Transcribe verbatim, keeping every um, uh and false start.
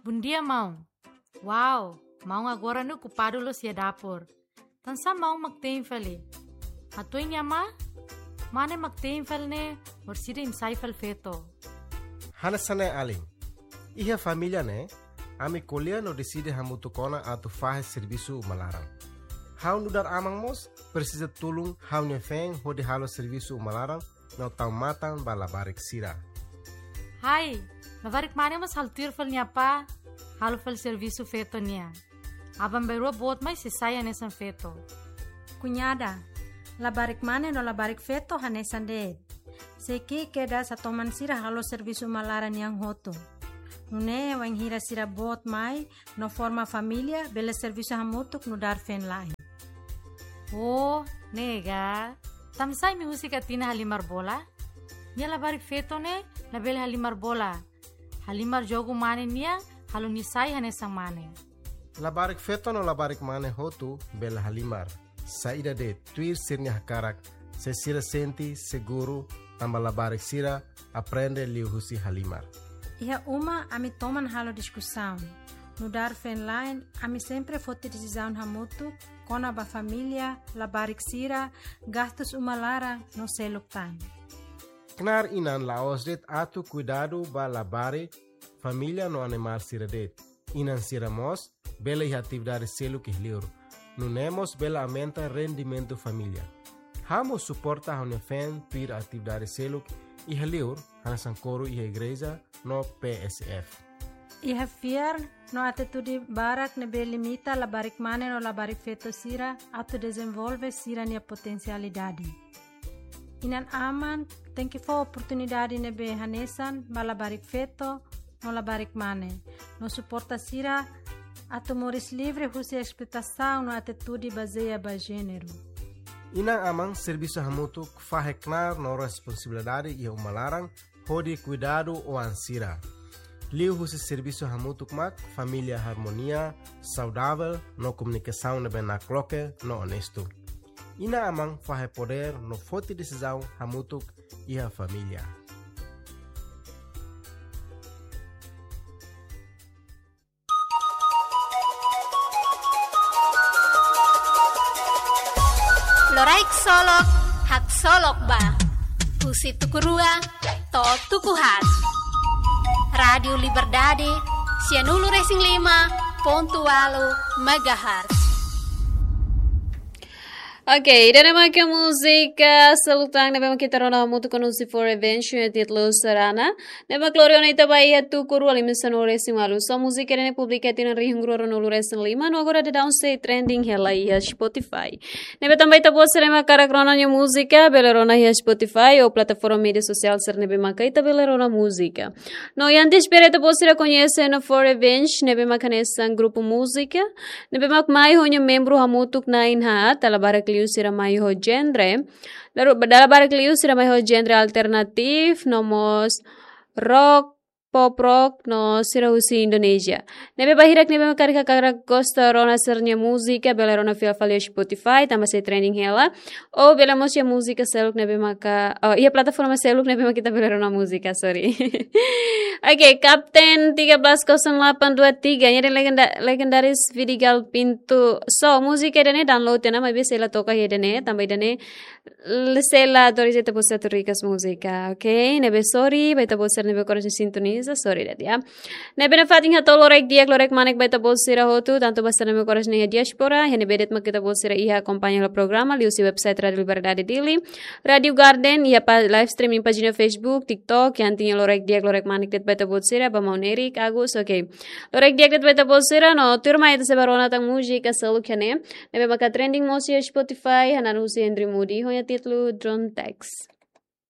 Bondia, maun. Wow, maun agora ne'e okupadu loos iha dapur. Tansá maun mak te'in fali? Hatuan nia ma? Mane mak te'in fali ne'e, orsida imi sai fali feto. Hanesan ne'e alin. Iha família ne'e, ami ko'alia no deside hamutuk ona atu fahe servisu uma laran. Ha'u nu'udar aman mós presiza tulun ha'u-nia feen hodi halo servisu uma laran no tau matan ba labarik sira. Hai, labarik mane mós halo tuir fali nia apá, halo fali servisu feto nian. Aban-bainrua boot mai sei sai hanesan feto. Kuñada, labarik mane no labarik feto hanesan de'it. Sei ki'ik kedas hatoman sira halo servisu uma laran nian hotu. Nune'e wainhira sira boot mai no forma família, bele servisu hamutuk nu'udar feen-la'en. Oh, ne'e ka. Tansá imi husik Atina halimar bola? Nia labarik feto ne'e labele halimar bola. Halimar jogu mane nian, halo nia sai hanesan mane. Labarik feto no labarik mane hotu bele halimar. Saida de'it, tuir sira-nia hakarak, se sira sente seguru, tanba labarik sira aprende liuhusi halimar. Iha uma ami toman halo diskusaun. Nu'udar feen-la'en, ami sempre foti desizaun hamutuk kona-ba família, labarik sira, gastus uma laran no seluk tan. Knaar inan la'ós de'it atu kuidadu ba labarik, família no animál sira de'it. Inan sira mós bele iha atividade seluk iha liur. Nune'e mós bele aumenta rendimentu família. Ha'u mós suporta ha'u-nia feen tuir atividade seluk iha liur, hanesan koru iha igreja no P S F. Iha fiar no atitude barak ne'ebé limita labarik mane no labarik feto sira atu dezenvolve sira-nia potensialidade. Inan-aman tenke fó oportunidade ne'ebé hanesan ba labarik feto no labarik mane, no suporta sira atu moris livre husi esploitasaun no atitude bazeia ba jéneru. Inan-aman servisu hamutuk fahe knaar no responsabilidade iha uma laran hodi kuidadu oan sira. Liuhusi servisu hamutuk mak família harmonia, saudavel no komunikasaun ne'ebé nakloke no onestu. Inan-aman fahe podér no foti desizaun hamutuk iha família. Loraik Solok, haksolok ba. Husi tuku rua to'o tuku haat. Rádiu Liberdade, sianulu resin lima pontu ualu megahertz. Oke, ida-ne'e maka múzika seluk tan ne'ebé mak ita rona hamutuk ho Nusi for Revenge, títulu Sarana. Ne'ebé mak lori ona ita ba iha tuku rua liman sanulu resin ualu. So múzika ida-ne'e publika tinan rihun rua ruanulu resin lima, no agora daudaun sei trending hela iha Spotify. Ne'ebé tanba ita-boot sira ne'ebé mak hakarak rona nia múzika, bele rona iha Spotify ou plataforma média sosiál sira ne'ebé mak ita bele rona múzika. No iha antes bele ita-boot sira koñese Nusi for Revenge, ne'ebé mak hanesan grupu múzika ne'ebé mak mai ho nia membru hamutuk na'in haat, dala barak liu sira mai ho genre. Lalu, dala barak liu sira mai ho genre alternatif, no mós rock, pop rock, no sira husi Indonézia. Ne'ebé ba hirak ne'ebé mak hakarak gosta rona sira-nia múzika, bele rona fila fali iha Spotify, tanba sei trending hela. Ou bele mós iha múzika seluk ne'ebé maka, oh, iha plataforma seluk ne'ebé mak ita bele rona múzika, sorry. Oke, Kapten tiga belas kosong delapan dua tiga, nia dehan legenda-, legendaris Vidigal Pintu. So, múzika ida-ne'e download tiha ona, maibé sei la toka iha ida-ne'e, tanba ida-ne'e, l-, sei la autoriza ita-boot sira atu request múzika, oke? Ne'ebé sorry ba ita-boot sira ne'ebé korasaun sintoniza, sorry de'it, ya. Ne'ebé nafatin hato'o loraik di'ak, loraik manek ba ita-boot sira hotu, tantu ba sira ne'ebé korasaun iha diáspora, iha ne'ebé de'it mak ita-boot sira iha akompaña hela programa, liuhusi website Rádiu Liberdade Dili, Rádiu Garden, iha pa-, live streaming pájina Facebook, TikTok, iha ne'e loraik di'ak, loraik manek de'it ba ita-boot sira, ba maun Eric, Agus, oke. Loraik di'ak de'it ba ita-boot sira, no tuirmai ita sei bá rona tan múzika seluk iha ne'e, ne'ebé maka trending mós iha Spotify, hanesan husi Henry Moody, ho nia títulu Drone Text.